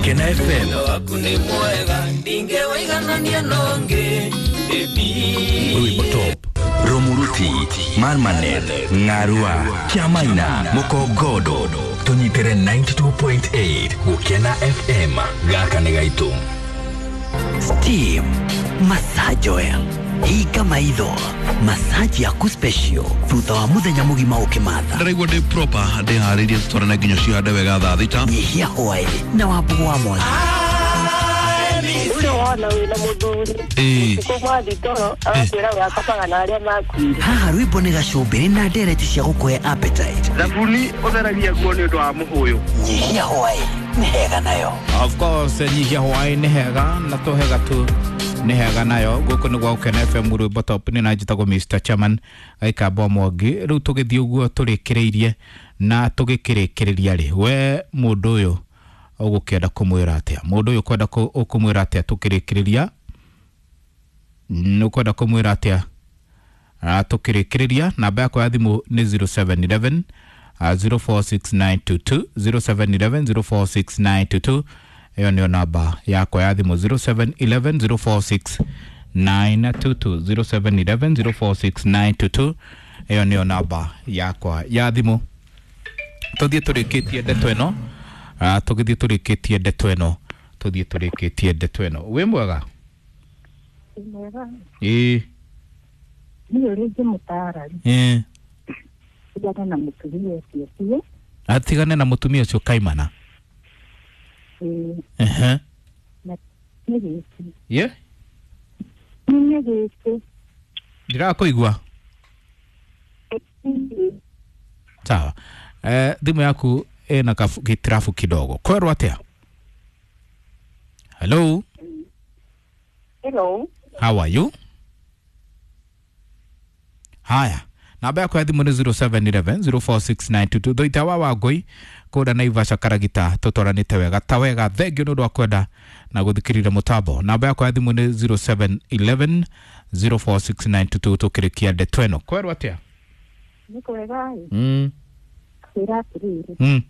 Gukena FM. Waku nĩ mwega ndingĩwaiganania nongi. Rwimbo top. Romuruti, Marmanet, Ng'arua, Kiamaina, Mukongodo. Tũnyitĩre 92.8 Gukena FM. Gaka nĩ gaitũ. Steam Massage Oil. Hinga maitho massage yaku special thutha wa muthenya mugima ukimatha. Ndĩraigua ndĩ proper ndĩharĩirie tũtwarane nginya cihande wega thaa thita. Nyihia hwaĩ na wambugu wa mwangi. Ũcio wona wĩna mũthuri ũtukũ mwathi toro agakwĩra we akomaga na arĩa makuire. Haha rwĩmbo nĩ gacumbĩrĩ na ndereti cia gũkũhe appetite. Thabuni ũtheragia nguo nĩ ũndũ wa mũhũyũ. Nyihia hwaĩ nĩ hega nayo. Of course nyihia hwaĩ nĩ hega na tũhega tu nĩ hega nayo. Gũkũ nĩ gwa Gũkena FM rwĩmbo top nĩ na njĩtagwo Mr Chairman Gaikamba Mwangi. Rĩu tũgĩthiĩ ũguo tũrĩkĩrĩirie na tũgĩkĩrĩkĩrĩria rĩ, we mũndũ ũyũ ũgũkĩenda kũmwĩra atĩa? Mũndũ ũyũ ũkwenda ũkũmwĩra atĩa tũkĩrĩkĩrĩria? Ũkwenda kũmwĩra atĩa tũkĩrĩkĩrĩria? Namba yakwa ya thimũ nĩ 0711 046922, 0711 046922. Ĩyo nĩyo namba yakwa ya thimũ, 0711 046922, 0711 046922. Ĩyo nĩyo namba yakwa ya thimũ. Tũthiĩ tũrĩkĩtie ndeto ĩno, tũgĩthiĩ tũrĩkĩtie ndeto ĩno, tũthiĩ tũrĩkĩtie ndeto ĩno. Wĩ mwega? Mwega. Ĩĩ. Niĩ ũrĩa ingĩmũtaara rĩ, Ĩĩ. tigana na mũtumia ũcio biũ. Atigane na mũtumia ũcio kaimana. Ĩĩ. Ehe. Na nĩ gĩkĩ. Ye? Nĩ gĩkĩ. Ndirakũigua. Sawa. Thimũ yaku ĩna gĩtirabu kidogo. Kwerwo atĩa? Hello. Hello. How are you? Haya. Namba yakwa ya thimũ nĩ 0711 046922. Thoita wa Wangũi kũrĩa Naivasha Karagita, tũtwaranĩte wega ta wega. Thengiũ nĩ ũndũ wa kwenda na gũthikĩrĩria mũtambo. Namba yakwa ya thimũ nĩ 0711 046922. Tũkĩrĩkia ndeto ĩno. Kwerwo atĩa? Nĩ kwega ĩ. Kwĩra atĩrĩrĩ,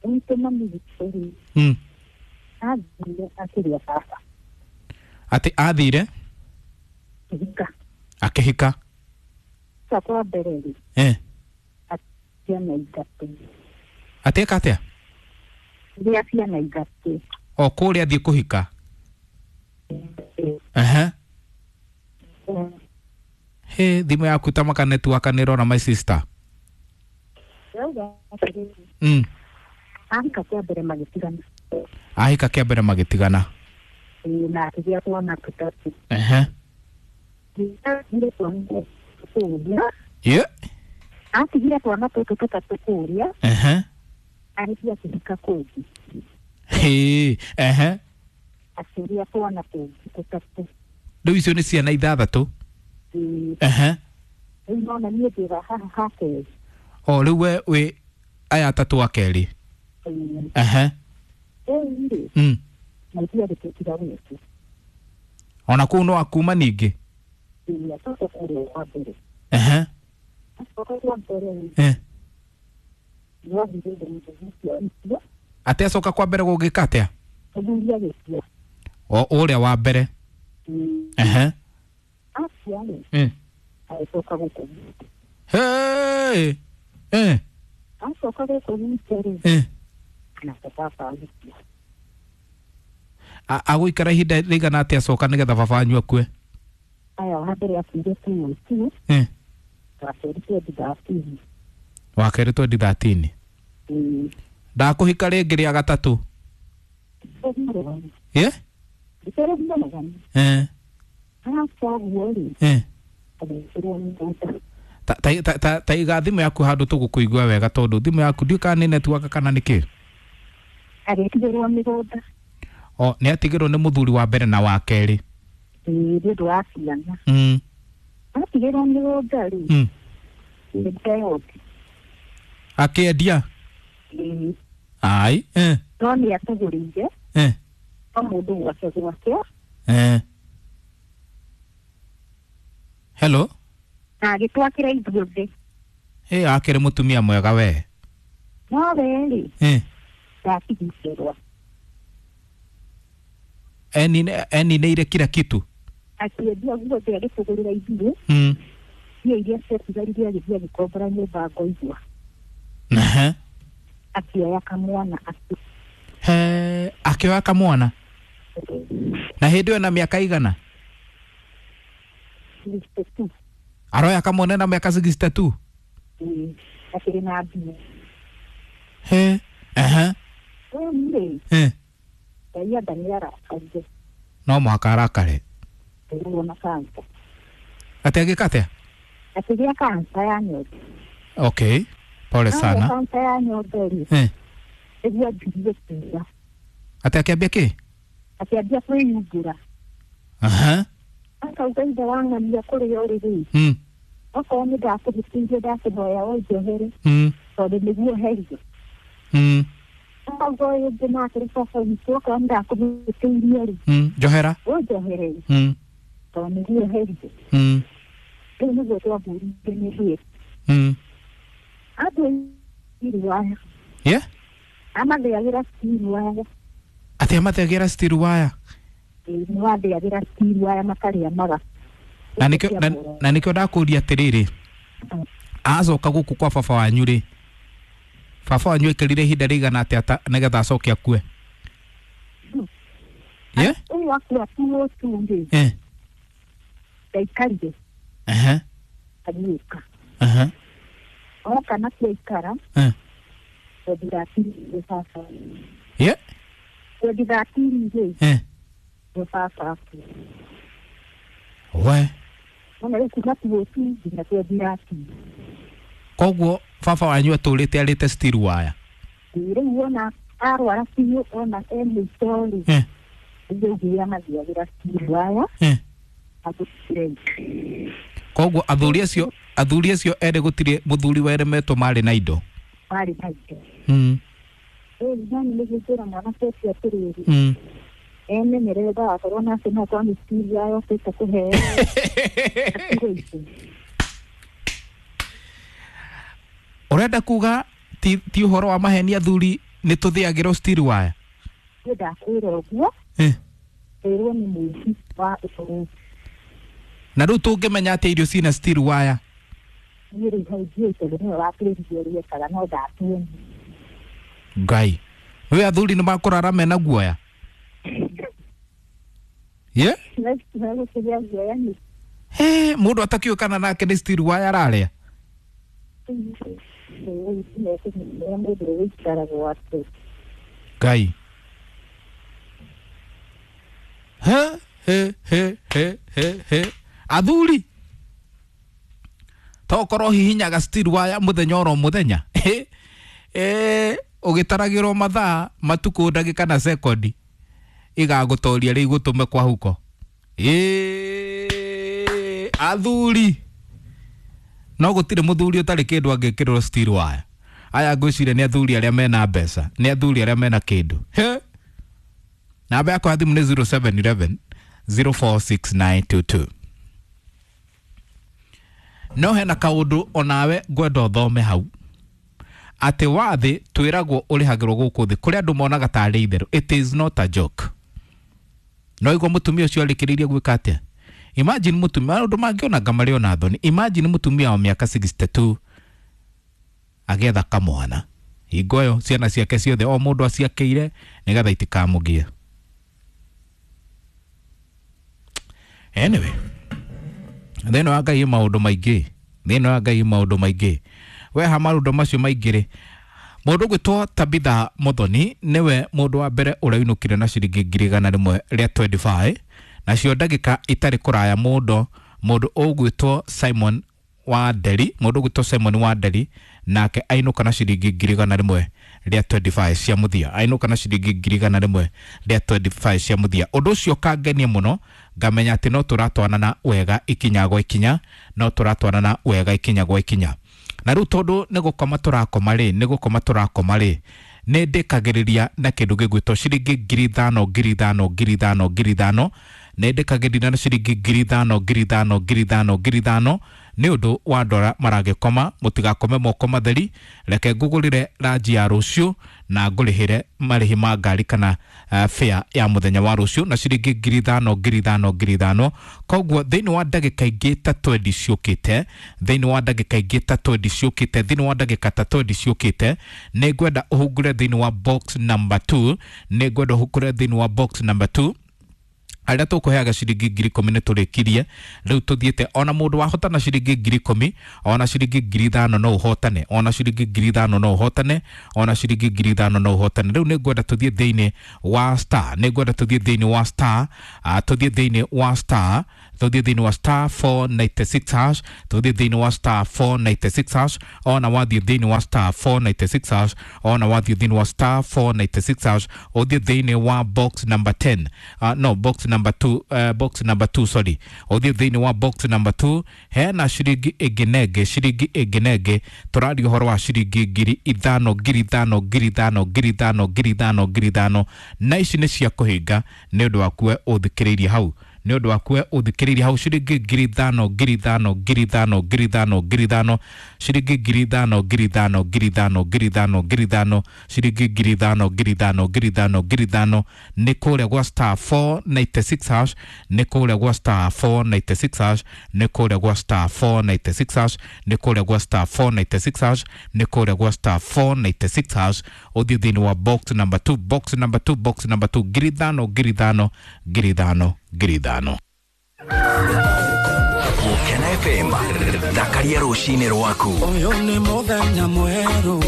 gwitũ mami witũ rĩ, athire akĩrĩa baba. Atĩ athire Akĩhika. Akĩhika. Coka wa mbere rĩ, ciana ithatũ. Atĩka atĩa? Gĩa ciana ithatũ. O kũrĩa athiĩ kũhika. Ehe. He, thimũ yaku ta maka network nĩ ĩrora my sister. Ndauga atĩrĩrĩ, ahika kĩa mbere magĩtigana. Ahika kĩa mbere magĩtigana. Ĩĩ, na akĩgĩa twana tũtatũ. Ehe. Atigire twana kũũria. Ye. Atigire twana tũtũ tũtatũ kũũria. Ehe. Agĩthiĩ akĩhika kũngĩ. Hĩ, ehe. Akĩgĩa twana tũngĩ tũtatũ. Rĩu icio nĩ ciana ithathatũ. Ĩĩ. Ehe. Rĩu nona niĩ ndĩ haha ha kerĩ. O rĩu we wĩ aya atatũ a kerĩ. Ĩĩ. Ehe. Rĩu rĩ, na ithuĩ tũtiga gwitũ. Ona kũu no akuma ningĩ. Ĩĩ, acoka kũrĩa kwa mbere. Ehe. Acoka kwa mbere rĩ, nĩathire mũthuri ũcio agĩkua. Atĩ acoka kwa mbere gũgĩka atĩa? Mũthuri agĩkua. O ũrĩa wa mbere. Ĩĩ. Ehe. Akua rĩ, agĩcoka gũkũ gwitũ. Hey. Acoka gũkũ gwitũ rĩ, nake baba agĩkua. Agũikara ihinda rĩigana atĩa acoka nĩgetha baba wanyu akue? Aya wa mbere akuire 2002. Wa kerĩ 2013. Wa kerĩ 2013. Ĩĩ. Ndakũhika rĩngĩ rĩa gatatũ. Ye? Ndĩrĩ Acoka ũguo rĩ, agĩkĩrwo mĩgũnda. Ta iga thimũ yaku handũ tũgũkũigua wega tondũ thimũ yaku ndiũĩ kana nĩ network kana nĩ kĩ. Agĩtigĩrwo mĩgũnda. O nĩ atigĩrwo nĩ mũthuri wa mbere na wa kerĩ. Ĩĩ, nĩ ũndũ wa ciana. Atigĩrwo mĩgũnda rĩ, nĩndeyongi. Akĩendia? Ĩĩ. Ai. No nĩ atũgũrĩire. O mũndũ gwake gwake. Hello. Na agĩtwakĩra ithuothe. Ĩ, akĩrĩ mũtumia mwega we. No we rĩ, ndatigithĩrwo. Enineire kila kitu. Akĩendia guothe agĩtũgũrĩra ithuĩ. Mbia iria ciatigarire agĩthiĩ agĩkombora nyũmba ngoigua. Akĩoya kamwana. He, akĩoya kamwana? Na hĩndĩ ĩyo na mĩaka igana? 62. Aroya kamwana na mĩaka 62? Akĩrĩ na mbia. He. Rĩu rĩ, Ngai anga nĩ arakarire. No mũhaka arakare. Rĩu na kansa. Atĩ agĩka atĩa? Akĩgĩa kansa ya nyondo. Okay. Pole sana. Kansa ya nyondo rĩ. Nĩguo anjirie kũiya. Atĩ akĩambia kĩ? Akĩambia kwĩyungũra. Akauga ithe wa ng'ania kũrĩa ũrĩ rĩ. Okorwo nĩ ndakũhĩtĩirie ndakũhoya ũnjohere. Tondũ nĩguo herio. Akauga ũyũ ũngĩ nake rĩ baba witũ okorwo nĩ ndakũhĩtĩirie rĩ. Njohera. Ũnjohere. Tondũ nĩguo herio. Rĩu nĩguo twambũrire nĩ rĩ. Andũ waya. Yeah? Amathĩagĩra steel wire. Atĩ amathĩagĩra steel wire? Nĩ wathĩagĩra steel wire makarĩa maga. Na nĩkĩo ndakũria atĩrĩrĩ, acoka gũkũ kwa baba wanyu rĩ, baba wanyu aikarire ihinda rĩigana atĩa nĩgetha acoke akue? Yeah? Ũyũ akua tu rĩ. Ndaikarire. Agĩũka. Oka na kũikara. 2013 baba. Yeah? 2013 rĩ. Baba akua. We. Ona rĩu kuma 2002 nginya 2013. Koguo baba wanyu atũrĩte arĩte steel wire. Rĩu wona arwara biũ ona e mũico rĩ. Rĩu nginya mathiagĩra steel wire. Agũtirĩ. Koguo athuri acio erĩ gũtirĩ mũthuri weremetwo marĩ na indo. Marĩ na indo. Rĩu nani nĩgũkĩra mwanake ũcio atĩrĩrĩ. Emenyerere ndagakorwo nake no akorwo nĩ steel wire okĩte kũheo. Ũrenda kuga ti ũhoro wa maheni athuri nĩ tũthĩagĩrwo steel wire? Niĩ ndakwĩra ũguo. Ĩrwo nĩ mũici wa ũhoro. Na rĩu tũngĩmenya atĩa irio ciĩna steel wire? Niĩ rĩu hau ndiũĩ tondũ nĩwe watwĩrire ũrĩa ekaga no ndatuonire. Ngai. Rĩu athuri nĩ makũrara mena guoya? Ye? He, mũndũ atakĩũĩ kana nake nĩ steel wire ararĩa? Ngai. He he he he he he. Athuri. Tokorwo hihinyaga steel wire mũthenya oro mũthenya. Ũgĩtaragĩrwo mathaa, matukũ, ndagĩka na sekondi igagũtoria rĩu igũtũme kwa huko. Athuri. No gũtirĩ mũthuri ũtarĩ kĩndũ angĩkĩrwo steel wire. Aya ngwĩciria nĩ athuri arĩa mena mbeca, nĩ athuri arĩa mena kĩndũ. Namba yakwa ya thimũ nĩ 0711 046922. No hena kaũndũ onawe ngwenda ũthome hau. Atĩ wathĩ twĩragwo ũrĩhagĩrwo gũkũ thĩ kũrĩa andũ monaga tarĩ itherũ. It is not a joke. No igua mũtumia ũcio arĩkĩrĩirie gwĩka atĩa? Imagine mũtumia, maũndũ mangĩona marĩ ona thoni. Imagine mũtumia wa mĩaka 62 agĩetha kamwana. Hingo ĩyo ciana ciake ciothe o mũndũ aciakĩire nĩgetha itikamũgie. Anyway, thĩinĩ wa Ngai maũndũ maingĩ, thĩinĩ wa Ngai maũndũ maingĩ. We ha maũndũ macio maingĩ rĩ, mũndũ ũgwĩtwo Tabitha Muthoni nĩwe mũndũ wa mbere ũrĩa na ciringi 125 nacio ndagĩka itarĩ kũraya mũndũ ũgwĩtwo Simon wa Nderi, mũndũ ũgwĩtwo Simon wa Nderi nake ainũka na ciringi 125 cia mũthia, ainũka na ciringi 125 cia mũthia. Ũndũ ũcio ũkangenia mũno ngamenya atĩ no tũratwarana wega ikinya gwa ikinya, no tũratwarana wega ikinya gwa ikinya. Na rĩu tondũ nĩ gũkoma tũrakoma rĩ, nĩ gũkoma tũrakoma rĩ, nĩ ndĩkagĩrĩria na kĩndũ gĩgwĩtwo ciringi 5,000 5,000 5,000 5,000, nĩ ndĩkagĩrĩria na ciringi 5,000 5,000 5,000 5,000 Nĩ ũndũ wa andũ arĩa maragĩkoma, mũtigakome moko matheri. Reke ngũgũrĩre ranji ya rũciũ na ngũrĩhĩre marĩhi ma ngari kana fare ya mũthenya wa rũciũ na ciringi 5,000 5,000 5,000. Koguo thĩinĩ wa ndagĩka ingĩ ta 20 ciũkĩte, thĩinĩ wa ndagĩka ingĩ ta 20 ciũkĩte, thĩinĩ wa ndagĩka ta 20 ciũkĩte, nĩ ngwenda ũhungure thĩinĩ wa box number 2, nĩ ngwenda ũhungure thĩinĩ wa box number 2. Arĩa tũkũheaga ciringi 10,000 nĩ tũrĩkirie. Rĩu tũthiĩte ona mũndũ wahotana ciringi 10,000, ona ciringi 5,000 no ũhotane, ona ciringi 5,000 no ũhotane, ona ciringi 5,000 no ũhotane. Rĩu nĩ ngwenda tũthiĩ thĩinĩ wa star, nĩ ngwenda tũthiĩ thĩinĩ wa star, tũthiĩ thĩinĩ wa star, tũthiĩ thĩinĩ wa star 496 hash, tũthiĩ thĩinĩ wa star 496 hash. Ona wathiĩ thĩinĩ wa star 496 hash, ona wathiĩ thĩinĩ wa star 496 hash, ũthiĩ thĩinĩ wa box number 10, no box number 2, box number 2, sorry, ũthiĩ thĩinĩ wa box number 2, hena ciringi ĩngĩ na ĩngĩ, ciringi ĩngĩ na ĩngĩ. Tũraria ũhoro wa ciringi 5,000 5,000 5,000 5,000 5,000 5,000, na ici nĩ cia kũhinga nĩ ũndũ waku we ũthikĩrĩirie hau, nĩ ũndũ waku we ũthikĩrĩirie hau. Ciringi 5,000 5,000 5,000 5,000 5,000, ciringi 5,000 5,000 5,000 5,000 5,000, ciringi 5,000 5,000 5,000 5,000, nĩ kũrĩa gwa star 496 hash, nĩ kũrĩa gwa star 496 hash, nĩ kũrĩa gwa star 496 hash, nĩ kũrĩa gwa star 496 hash, nĩ kũrĩa gwa star 496 hash. Ũthiĩ thĩinĩ wa box number 2, box number 2, box number 2, 5,000 5,000 5,000 5,000. Gũkena FM, thakaria rũcinĩ rwaku. Ũyũ nĩ mũthenya mwerũ.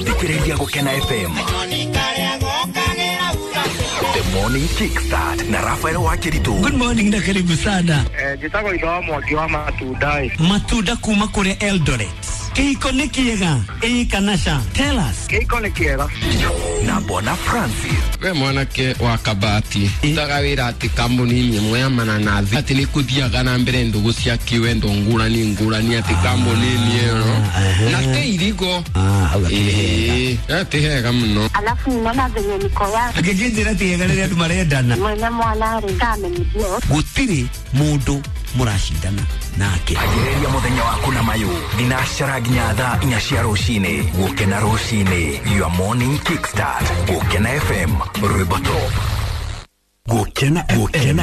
Thikĩrĩria Gũkena FM. The Morning Kickstart na Rafael Wakiritu. Good morning na karibu sana. Njĩtagwo itho wa Mwangi wa matunda ĩ. Matunda kuma kũrĩa Eldoret. Kĩhiko nĩ kĩega ĩĩ kana ca? Tell us. Kĩhiko nĩ kĩega. Na Bwana Francis. We mwanake wa kabati utaga wĩra atĩ kambuni-inĩ ĩmwe ya mananathi atĩ nĩ kũthiaga na mbere ndũgũ cia kĩwendo ngũrani ngũrani atĩ kambuni-inĩ ĩyo na te irigo. Hau akĩrĩ hega. Ĩĩ, ti hega mũno. Alafu ninaona venye niko ya Angĩkĩnjĩra ti hega rĩrĩa andũ marendana. Mwene mwana rĩ kamenyithio. Gũtirĩ mũndũ mũracindana nake. Anjĩrĩria mũthenya waku na mayũ thinacara nginya thaa 4 cia rũcinĩ. Gũkena rũcinĩ, your morning kickstart. Gũkena FM, rwĩmbo top. Gũkena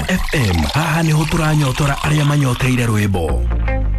FM, haha nĩho tũranyotora arĩa manyoteire rwĩmbo.